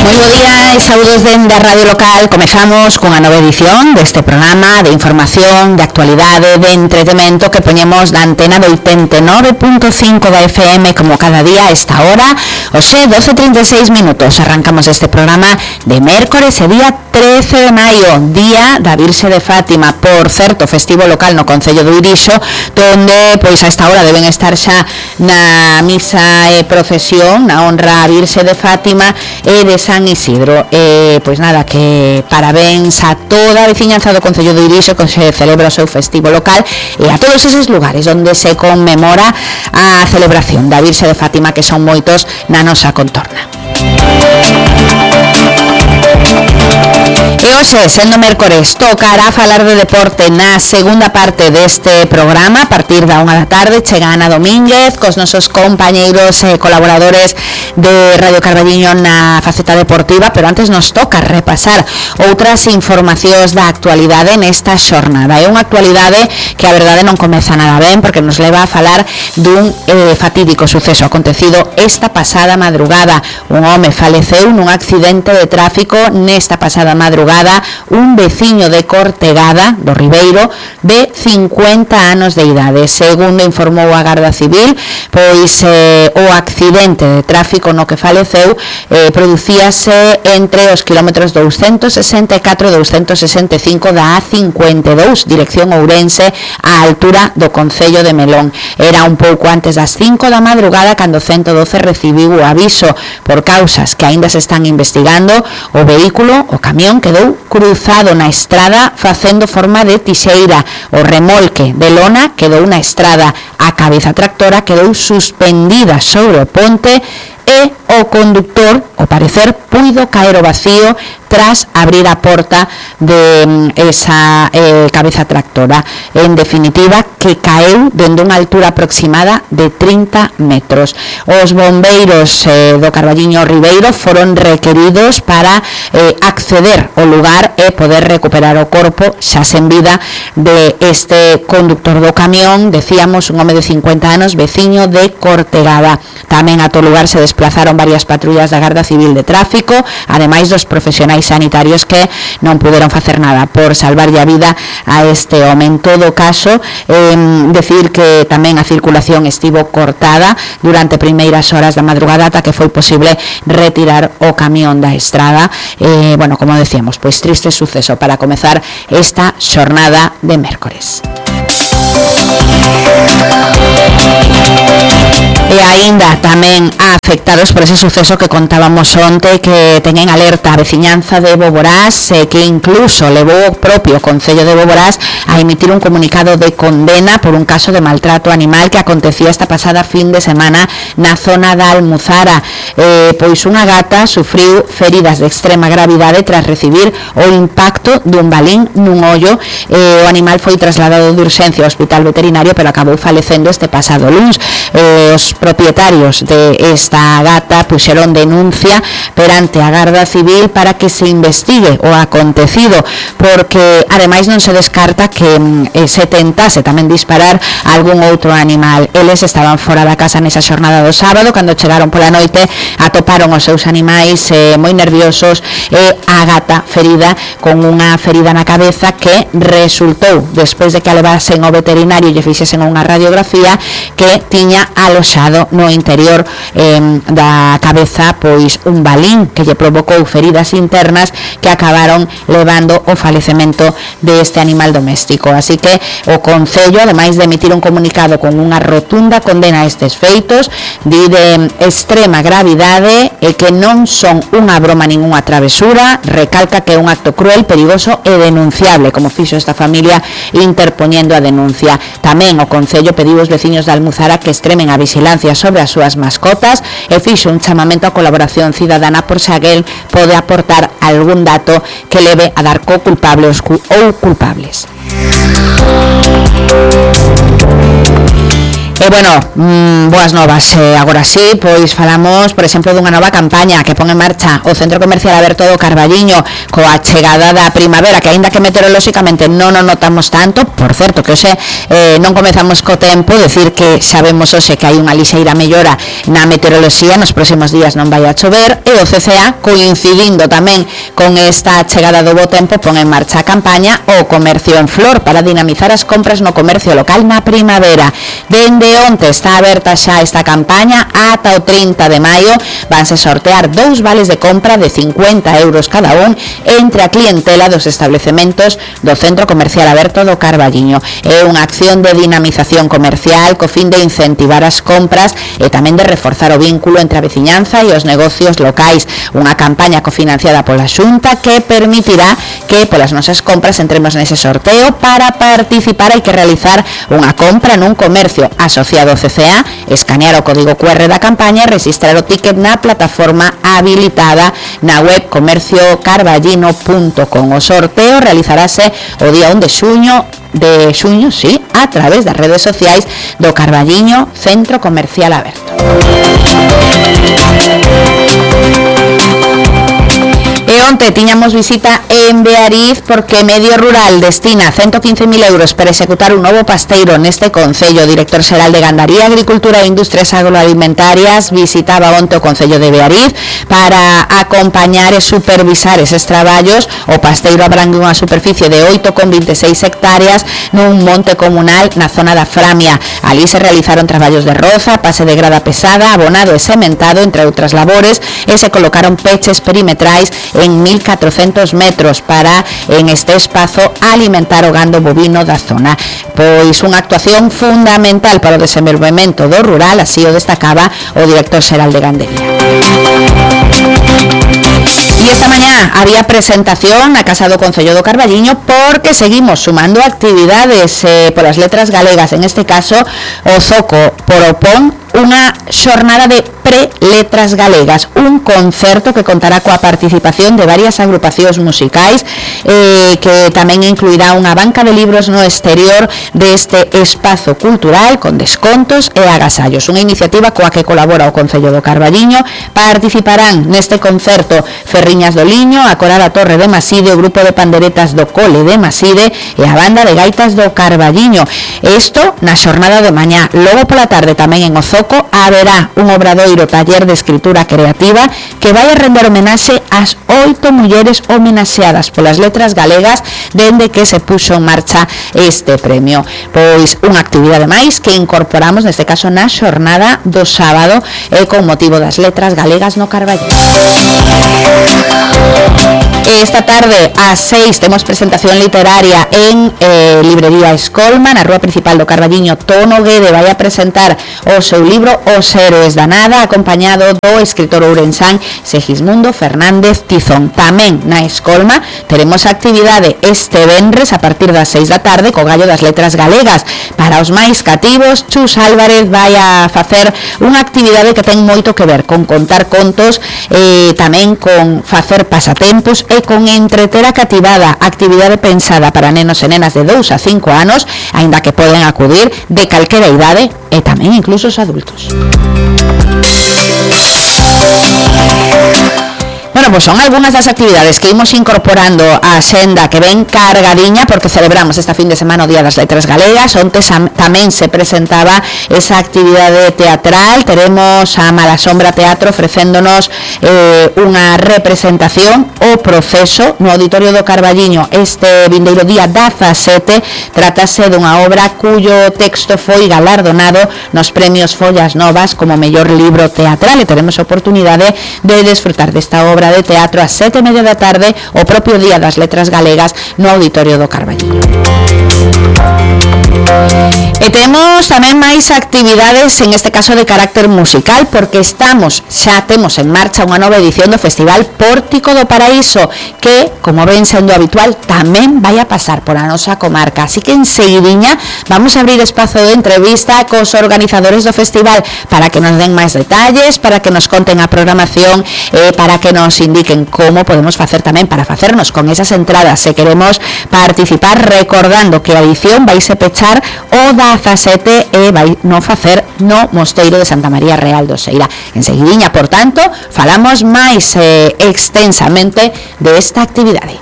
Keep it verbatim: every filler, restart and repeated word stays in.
Moi bo día e saúdos dende a Radio Local. Comezamos cunha nova edición deste programa de información, de actualidade, de entretemento que poñemos da antena do oitenta e nove punto cinco da F M como cada día a esta hora. Oxe, doce e trinta e seis minutos. Arrancamos este programa de mércores e día trece de maio, día da Virxe de Fátima. Por certo, festivo local no Concello do Irixo, donde pois a esta hora deben estar xa na misa e procesión na honra a Virxe de Fátima e de San Isidro. E pois nada, que parabéns a toda a veciñanza do Concello do Irixo que se celebra o seu festivo local e a todos eses lugares onde se conmemora a celebración da Virxe de Fátima, que son moitos na nosa contorna. E hoxe, sendo mércores, tocará falar de deporte na segunda parte deste programa. A partir da unha da tarde chega Ana Domínguez cos nosos compañeiros e colaboradores de Radio Carballiño na faceta deportiva, pero antes nos toca repasar outras informacións da actualidade nesta xornada. É unha actualidade que a verdade non comeza nada ben, porque nos leva a falar dun eh, fatídico suceso acontecido esta pasada madrugada. Un home faleceu nun accidente de tráfico nesta pasada madrugada. Un veciño de Cortegada, do Ribeiro, de cincuenta anos de idade. Segundo informou a Garda Civil, pois eh, o accidente de tráfico no que faleceu eh, producíase entre os kilómetros doscientos sesenta e catro e doscientos sesenta e cinco da A cincuenta e dous, dirección Ourense, á altura do Concello de Melón. Era un pouco antes das cinco da madrugada cando ciento doce recibiu o aviso. Por causas que aínda se están investigando, o vehículo, o camión, quedou cruzado na estrada facendo forma de tixeira. O remolque de lona quedou na estrada. A cabeza tractora quedou suspendida sobre o ponte e o conductor, ao parecer, puido caer ao vacío tras abrir a porta de esa eh, cabeza tractora. En definitiva, que caeu dende unha altura aproximada de trinta metros. Os bombeiros eh, do Carballiño Ribeiro foron requeridos para eh, acceder ao lugar e poder recuperar o corpo xa sen vida de este conductor do camión, decíamos, un home de cincuenta anos, veciño de Cortegada. Tamén a todo lugar se desplazaron varias patrullas da Garda Civil de Tráfico, ademais dos profesionais sanitarios que non puderon facer nada por salvarlle a vida a este home. En todo caso, eh, decir que tamén a circulación estivo cortada durante primeiras horas da madrugada ata que foi posible retirar o camión da estrada. Eh, bueno, como decíamos, pois triste suceso para comezar esta xornada de mércores. E aínda tamén afectados por ese suceso que contábamos onte, que teñen alerta a veciñanza de Boborás, eh, que incluso levou o propio Concello de Boborás a emitir un comunicado de condena por un caso de maltrato animal que acontecía esta pasada fin de semana na zona da Almuzara. Eh, pois unha gata sufriu feridas de extrema gravidade tras recibir o impacto dun balín nun ollo. Eh, o animal foi trasladado de urxencia ao hospital veterinario, pero acabou falecendo este pasado luns. Eh, os propietarios de esta gata puxeron denuncia perante a Garda Civil para que se investigue o acontecido, porque ademais non se descarta que eh, se tentase tamén disparar a algún outro animal. Eles estaban fora da casa nesa xornada do sábado, cando chegaron pola noite atoparon os seus animais eh, moi nerviosos e a gata ferida con unha ferida na cabeza que resultou, despois de que a levasen ao veterinario e lle fixesen unha radiografía, que tiña aloxado no interior eh, da cabeza pois un balín que lle provocou feridas internas que acabaron levando o falecemento deste animal doméstico. Así que o Concello, ademais de emitir un comunicado con unha rotunda condena a estes feitos, di de extrema gravidade e que non son unha broma nin unha travesura, recalca que é un acto cruel, perigoso e denunciable, como fixo esta familia interpoñendo a denuncia. Tamén o Concello pediu aos veciños de Almuzara que extremen a vigilancia sobre as súas mascotas e fixo un chamamento a colaboración cidadana por se alguén pode aportar algún dato que leve a dar co culpable ou culpables. E, bueno, mmm, boas novas, eh, agora sí, pois falamos, por exemplo, dunha nova campaña que pon en marcha o Centro Comercial Aberto do Carballiño coa chegada da primavera, que aínda que meteorolóxicamente non o notamos tanto, por certo, que hoxe eh, non comezamos co tempo, decir que sabemos hoxe que hai unha lixeira mellora na meteoroloxía, nos próximos días non vai a chover, e o C C A, coincidindo tamén con esta chegada do bo tempo, pon en marcha a campaña O Comercio en Flor para dinamizar as compras no comercio local na primavera. Dende onte está aberta xa esta campaña, ata o trinta de maio vanse sortear dous vales de compra de cincuenta euros cada un entre a clientela dos establecementos do Centro Comercial Aberto do Carballiño. É unha acción de dinamización comercial co fin de incentivar as compras e tamén de reforzar o vínculo entre a veciñanza e os negocios locais. Unha campaña cofinanciada pola Xunta que permitirá que polas nosas compras entremos nese sorteo. Para participar hai que realizar unha compra nun comercio asociado ao C C A, escanear o código Q R da campaña e registrar o ticket na plataforma habilitada na web comercio carballino punto com. O sorteo realizarase o día un de xuño de xuño, sí, a través das redes sociais do Carballiño Centro Comercial Aberto. E onte tiñamos visita en Beariz porque Medio Rural destina ciento quince mil euros para executar un novo pasteiro neste concello. O director xeral de Gandaría, Agricultura e Industrias Agroalimentarias visitaba onte o concello de Beariz para acompañar e supervisar eses traballos. O pasteiro abrangue unha superficie de oito coma veintiséis hectáreas nun monte comunal na zona da Framia. Ali se realizaron traballos de roza, pase de grada pesada, abonado e sementado, entre outras labores, e se colocaron peches perimetrais en mil catrocentos metros para, en este espazo, alimentar o gando bovino da zona. Pois unha actuación fundamental para o desenvolvemento do rural, así o destacaba o director xeral de Gandería. E esta mañá había presentación na Casa do Concello do Carballiño porque seguimos sumando actividades eh, polas letras galegas, en este caso o Zoco propón unha xornada de pre-letras galegas, un concerto que contará coa participación de varias agrupacións musicais eh, que tamén incluirá unha banca de libros no exterior deste espazo cultural con descontos e agasallos, unha iniciativa coa que colabora o Concello do Carballiño. Participarán neste concerto Ferriñas do Liño, a Coral da Torre de Maside, o grupo de panderetas do Cole de Maside e a banda de gaitas do Carballiño. Isto na xornada de mañá. Logo pola tarde tamén en Ozoco haberá un obradoiro taller de escritura creativa que vai a render homenaxe ás oito mulleres homenaxeadas polas letras galegas dende que se puxo en marcha este premio. Pois unha actividade máis que incorporamos neste caso na xornada do sábado e con motivo das letras galegas no Carballiño. Esta tarde ás seis temos presentación literaria en eh, Librería Escolma, na rúa principal do Carballiño. Tono Guede vai a presentar o seu libro Os Héroes da Nada, acompañado do escritor ourensán Segismundo Fernández Tizón. Tamén na Escolma teremos actividade este venres a partir das seis da tarde co Gallo das Letras Galegas. Para os máis cativos, Chus Álvarez vai a facer unha actividade que ten moito que ver con contar contos, e tamén con facer pasatempos e con entreter a cativada, actividade pensada para nenos e nenas de dous a cinco anos, aínda que poden acudir de calquera idade e tamén incluso os adultos. Bueno, pois son algunhas das actividades que imos incorporando á xenda que ven cargadiña porque celebramos esta fin de semana o Día das Letras Galegas. Onte tamén se presentaba esa actividade teatral. Teremos a Malasombra Teatro ofrecéndonos eh, unha representación, O Proceso, no Auditorio do Carballiño este vindeiro día dezasete. Trátase dunha obra cuyo texto foi galardonado nos premios Follas Novas como mellor libro teatral, e teremos oportunidade de desfrutar desta obra de teatro a sete e media da tarde o propio Día das Letras Galegas no Auditorio do Carballiño. E temos tamén máis actividades, en este caso de carácter musical, porque estamos, xa temos en marcha unha nova edición do Festival Pórtico do Paraíso, que, como ven sendo habitual, tamén vai a pasar por a nosa comarca. Así que enseguidiña vamos a abrir espazo de entrevista cos organizadores do festival para que nos den máis detalles, para que nos conten a programación e para que nos indiquen como podemos facer tamén para facernos con esas entradas se queremos participar, recordando que a edición vai se pechar o da Praza sete e vai no facer no Mosteiro de Santa María Real do Seira. Enseguidiña, por tanto, falamos máis eh, extensamente desta actividade.